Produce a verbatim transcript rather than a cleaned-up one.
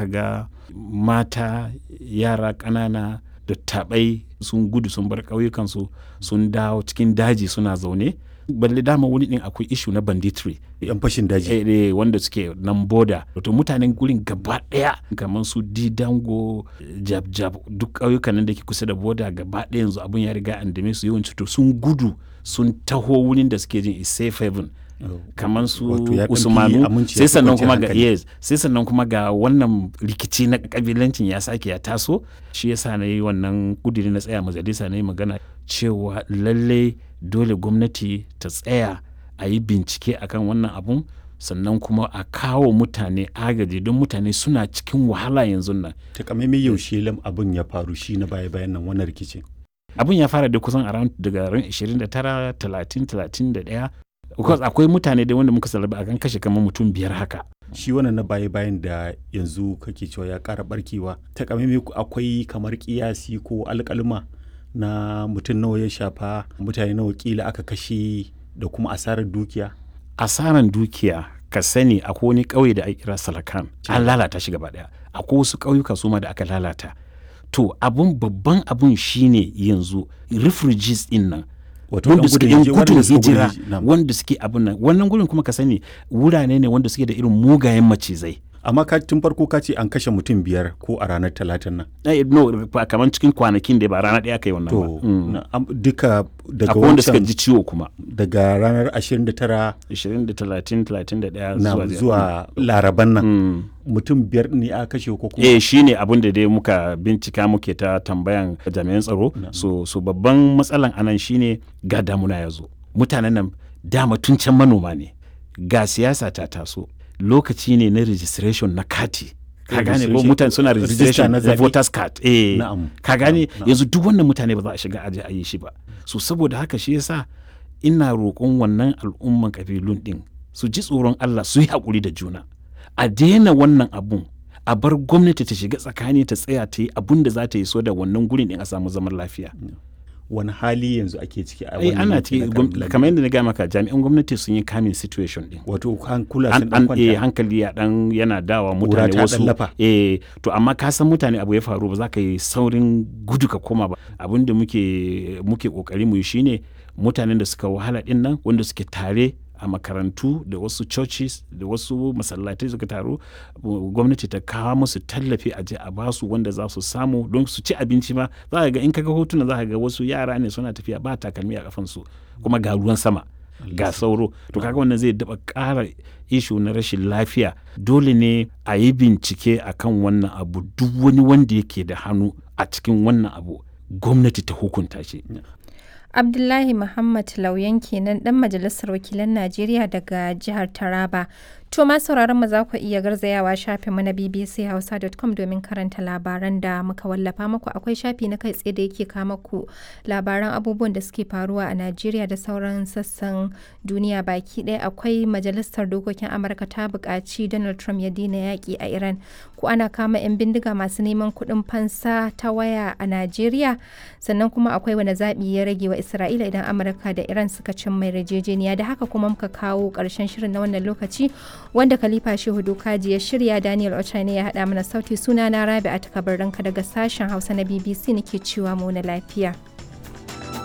ka ga mata, yara ƙanana, dattabai sun gudu sun bar ƙauyukansu, sun dawo cikin daji suna zaune. Balle dama wani din akwai issue na banditry. Yan fashin daji. Eh, eh, wanda suke nan boda. To mutanen gurin gaba ɗaya kamar su Didango, Jab Jab, duk ƙauyukan nan da ke kusa da boda gaba ɗaya yanzu abun ya riga an dame su yawanci, to sun gudu sun taho wurin da suke jin is safe haven. Kamar su Wato ya ɗan fi Usmanu. aminci, ya Sai fi sannan kwanciyar kuma ga hankali. yes, sai sannan kuma ga wannan rikici na kabilancin ya sake ya taso. Shi yasa na yi wannan kudiri, na tsaya majalisa na yi magana cewa lalle dole gwamnati ta tsaya a yi bincike akan wannan abun, sannan kuma a kawo mutane agaji don mutane suna cikin wahala yanzu nan. Takamaimai yaushe lam abin ya faru shi na baya bayan nan, wannan rikicin? Abun ya fara da kusan around daga ran ashirin da tara, talatin, talatin da ɗaya, because akwai mutane da wanda muka salaba akan kashe kamar mutum biyar haka. Shi wannan na baya bayan da yanzu kake cewa ya ƙara barkewa, takamaimai akwai kamar kiyasi ko alƙaluma na mutum nawa ya shafa, mutane nawa kila aka kashe, da kuma asarar dukiya? Asaran dukiya, ka sani akwai wani ƙauye da ake kira Salakan, an lalata shi gaba ɗaya. Akwai wasu ƙauyuka su ma da aka lalata. To abun, babban abun shine yanzu refugees din nan, Wato wanda ɗan suke gudun yan hijira- gudun waɗanda suka gudu hijira, hiji- na'am. wanda suke abun nan, wannan gurin kuma ka sani wurare ne wanda suke da irin mugayen macizai. Amma ka tun farko ka ce an kashe mutum biyar ko a ranar Talatin nan? Eh, no, ba kamar cikin kwanakin da ba rana ɗaya aka yi wannan ba. To Mm. na- am- duka daga Akwai wanda suka wancan ji ciwo kuma. Daga ranar ashirin da tara ashirin da talatin, talatin da ɗaya na zuwa zuwa Laraban nan, Mm. mutum biyar ne aka kashe ko kuma? Eh, shi ne abin da dai muka bincika, muke ta tambayan jami'an tsaro. So so babban matsalan anan shine ga damuna ya zo, mutanen nan dama tun can manoma ne, ga siyasa ta taso, lokaci ne na registration na kati, ka gane ko? Registration- Mutane suna register registration na na zaɓe. voters card, eh. Na'am. Ka gane? Na'am. Yanzu duk wannan mutane ba za a shiga aje a yi shi ba. So saboda haka shi yasa ina roƙon wannan al'umman kabilun din su ji tsoron Allah, su yi haƙuri da juna, a daina wannan abun, a bar gwamnati ta shiga tsakani, ta tsaya ta yi abun da za ta yi so da wannan gurin din a samu zaman lafiya. Wani hali yanzu ake ciki a Ai wannan ana yanki ciki na gwam- Kabilan? Kamar yadda na gaya maka, jami'an gwamnati sun yi kamin situation din. Wato hankula An sun dan an eh, kwanta. hankali ya dan yana dawa Ƙura mutane ta dan wasu. lafa. Eh, to amma ka san mutane abu ya faru, ba za ka yi saurin gudu ka koma ba. Abin da muke muke kokari mu yi shine mutanen da suka wahala din nan, wanda suke tare a makarantu da wasu churches da wasu masallatai suka taru, gwamnati ta kawo musu tallafi, a je a basu wanda za su samu don su ci abinci ma. Za ka ga in ka ga hotuna, za ka ga wasu yara ne suna tafiya ba takalmi a kafansu, kuma ga ruwan sama, ga sauro. To kaga wannan zai daba ƙara issue na rashin lafiya. Dole ne a yi bincike akan wannan abu, duk wani wanda yake da hannu a cikin wannan abu gwamnati ta hukunta shi. Abdullahi Muhammad Lauyan kenan, dan majalisar wakilan Najeriya daga jihar Taraba. To ma sauraron mu, za ku iya garzayawa shafin mu na b b c hausa dot com domin karanta labaran da muka wallafa muku. Akwai shafi na kai tsaye da yake kama ku labaran abubuwan da suke faruwa a Najeriya da sauran sassan duniya baki ɗaya. Akwai majalisar dokokin Amurka ta buƙaci Donald Trump ya daina yaƙi a Iran. Ko ana kama 'yan bindiga masu neman kuɗin fansa ta waya a Najeriya. Sannan kuma akwai wani zaɓi ya rage wa Isra'ila idan Amurka da Iran suka cin mai yarjejeniya. Da haka kuma muka kawo ƙarshen shirin na wannan lokaci, wanda Khalifa Shehu Dokaji ya shirya, Daniel Ochane ya haɗa mana sauti. Suna na Rabi'a Takabarranka daga sashen Hausa na B B C nake cewa mu na lafiya.